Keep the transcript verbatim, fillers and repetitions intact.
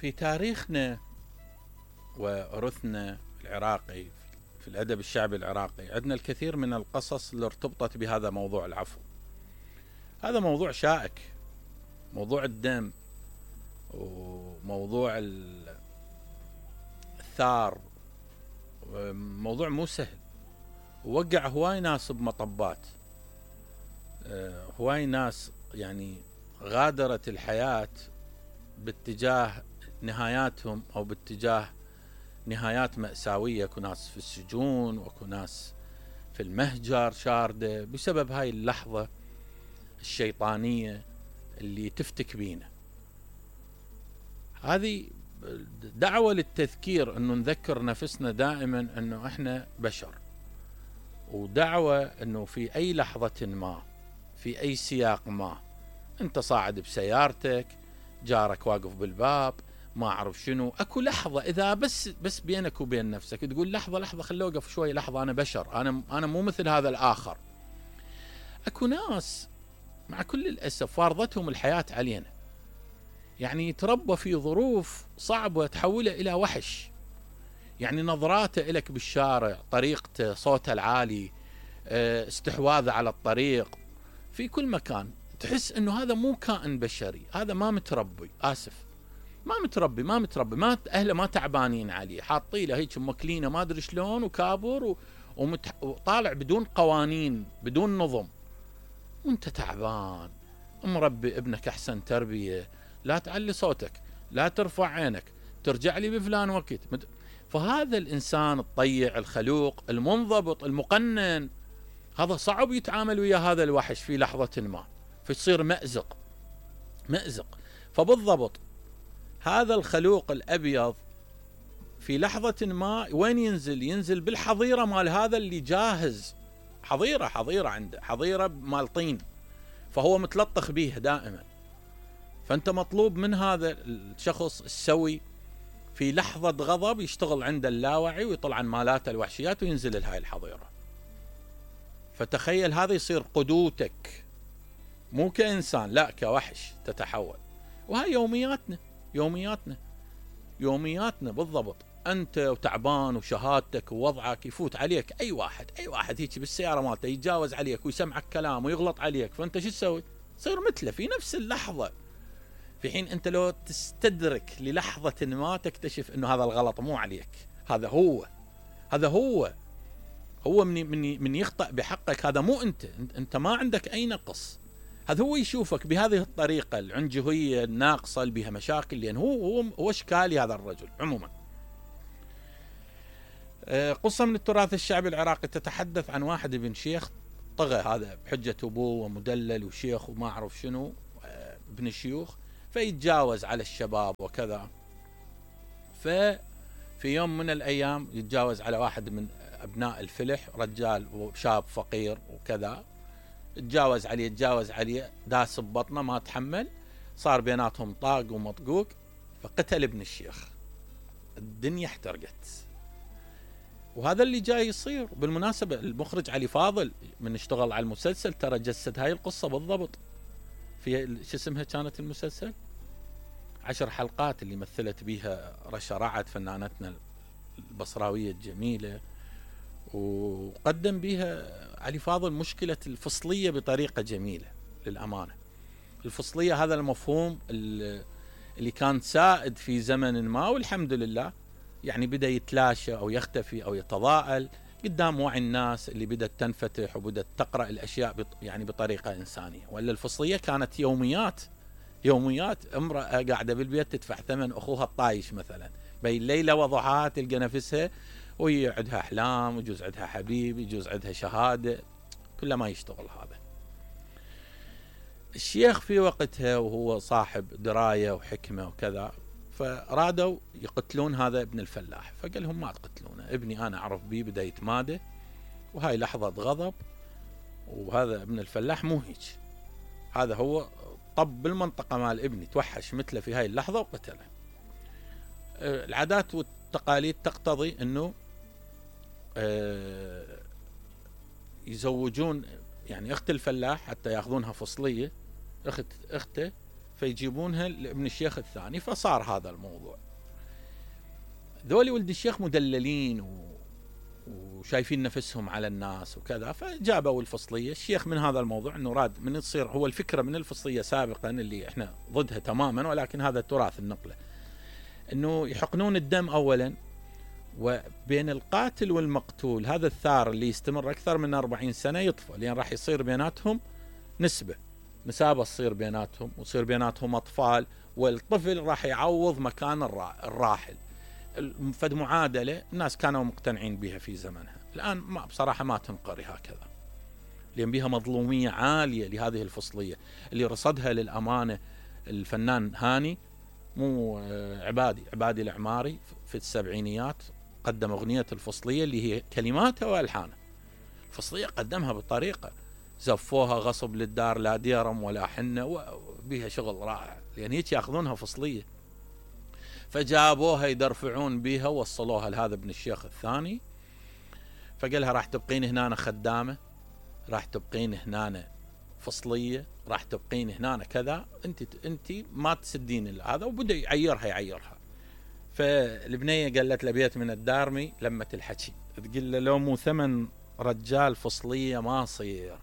في تاريخنا وإرثنا العراقي في الأدب الشعبي العراقي عندنا الكثير من القصص اللي ارتبطت بهذا موضوع العفو. هذا موضوع شائك، موضوع الدم وموضوع الثار، موضوع مو سهل، ووقع هواي ناس بمطبات، هواي ناس يعني غادرت الحياة باتجاه نهاياتهم أو باتجاه نهايات مأساوية. اكو ناس في السجون واكو ناس في المهجر شاردة بسبب هاي اللحظة الشيطانية اللي تفتك بينا. هذه دعوة للتذكير انه نذكر نفسنا دائما انه احنا بشر، ودعوة انه في اي لحظة ما في اي سياق ما انت صاعد بسيارتك، جارك واقف بالباب، ما اعرف شنو، اكو لحظة اذا بس بس بينك وبين نفسك تقول لحظة لحظة خلي اوقف شوي، لحظة انا بشر، انا انا مو مثل هذا الاخر. اكو ناس مع كل الاسف فارضتهم الحياة علينا، يعني يتربى في ظروف صعبة تحوله الى وحش، يعني نظراته الك بالشارع، طريقته، صوته العالي، استحواذه على الطريق، في كل مكان تحس انه هذا مو كائن بشري، هذا ما متربي، اسف ما متربي ما متربي ما اهله ما تعبانين عليه، حاطين له هيك مكلينه ما ادري شلون وكابر و... ومت... وطالع بدون قوانين بدون نظم، وانت تعبان مربي ابنك احسن تربيه، لا تعلي صوتك، لا ترفع عينك، ترجع لي بفلان وقت. فهذا الانسان الطيع الخلوق المنضبط المقنن هذا صعب يتعامل ويا هذا الوحش في لحظة ما، فيصير مأزق مأزق. فبالضبط هذا الخلوق الأبيض في لحظة ما وين ينزل؟ ينزل بالحظيرة مال هذا اللي جاهز، حظيرة حظيرة عنده، حظيرة مال طين، فهو متلطخ بيها دائما. فأنت مطلوب من هذا الشخص السوي في لحظة غضب يشتغل عند اللاوعي ويطلع عن مالاته الوحشيات وينزل لهاي الحظيرة. فتخيل هذا يصير قدوتك، مو كإنسان لا كوحش تتحول. وهاي يومياتنا يومياتنا يومياتنا بالضبط. أنت وتعبان وشهادتك ووضعك يفوت عليك أي واحد أي واحد هيك بالسيارة مالته يتجاوز عليك ويسمعك كلام ويغلط عليك، فأنت شو تسوي؟ تصير مثله في نفس اللحظة، في حين أنت لو تستدرك للحظة ما تكتشف أنه هذا الغلط مو عليك، هذا هو هذا هو هو من من من يخطأ بحقك، هذا مو انت انت ما عندك اي نقص، هذا هو يشوفك بهذه الطريقه العنجهيه الناقصه اللي بها مشاكل، لان هو هو هو اشكالي هذا الرجل. عموما قصه من التراث الشعبي العراقي تتحدث عن واحد ابن شيخ طغى، هذا بحجه ابوه ومدلل وشيخ وما اعرف شنو ابن الشيوخ، فيتجاوز على الشباب وكذا. ففي يوم من الايام يتجاوز على واحد من ابناء الفلح، رجال وشاب فقير وكذا، تجاوز عليه تجاوز عليه داس ببطنه ما تحمل، صار بيناتهم طاق ومطقوق، فقتل ابن الشيخ. الدنيا احترقت. وهذا اللي جاي يصير. بالمناسبة المخرج علي فاضل من اشتغل على المسلسل ترى جسد هاي القصة بالضبط في شو اسمها كانت المسلسل عشر حلقات اللي مثلت بيها رشا رعد فنانتنا البصراوية الجميلة، وقدم بها علي فاضل مشكلة الفصلية بطريقة جميلة للأمانة. الفصلية هذا المفهوم اللي كان سائد في زمن ما، والحمد لله يعني بدأ يتلاشى أو يختفي أو يتضاءل قدام وعي الناس اللي بدأت تنفتح وبدأت تقرأ الأشياء يعني بطريقة إنسانية. ولا الفصلية كانت يوميات يوميات، امرأة قاعدة بالبيت تدفع ثمن أخوها الطايش مثلا، بين ليلة وضحاها تلقى نفسها وهي عندها أحلام، ويجوز عندها حبيب، يجوز عندها شهادة، كله ما يشتغل هذا. الشيخ في وقتها وهو صاحب دراية وحكمة وكذا، فرادوا يقتلون هذا ابن الفلاح، فقال لهم ما تقتلونه، ابني أنا أعرف بيه بدأ يتمادى، وهاي لحظة غضب، وهذا ابن الفلاح مو هيك، هذا هو طب بالمنطقة مال ابني، توحش مثله في هاي اللحظة وقتله. العادات والتقاليد تقتضي أنه يزوجون يعني اخت الفلاح حتى ياخذونها فصليه، اخت اخته فيجيبونها لابن الشيخ الثاني، فصار هذا الموضوع. ذولي ولد الشيخ مدللين و... وشايفين نفسهم على الناس وكذا، فجابوا الفصلية. الشيخ من هذا الموضوع انه راد من تصير هو الفكرة من الفصلية سابقا اللي احنا ضدها تماما، ولكن هذا تراث النقلة، انه يحقنون الدم اولا، وبين القاتل والمقتول هذا الثار اللي يستمر اكثر من أربعين سنة يطفى، لان راح يصير بيناتهم نسبة نسابة تصير بيناتهم، ويصير بيناتهم اطفال، والطفل راح يعوض مكان الراحل. فد معادلة الناس كانوا مقتنعين بها في زمنها، الآن ما بصراحة ما تنقري هكذا، لأن بها مظلومية عالية لهذه الفصلية اللي رصدها للأمانة الفنان هاني، مو عبادي عبادي العماري في السبعينيات، قدم أغنية الفصلية اللي هي كلماتها وألحانها. الفصلية قدمها بطريقة زفوها غصب للدار، لا ديرم ولا حنة، وبها شغل رائع، لأن هيك يأخذونها فصلية. فجابوها يدرفعون بها، وصلوها لهذا ابن الشيخ الثاني، فقالها راح تبقين هنا خدامة، راح تبقين هنا فصلية، راح تبقين هنا كذا، انت انت ما تسدين هذا. وبدأ يعيرها يعيرها فالبنية قالت له بيت من الدارمي لما الحكي، تقول له لو مو ثمن رجال فصلية ما صير.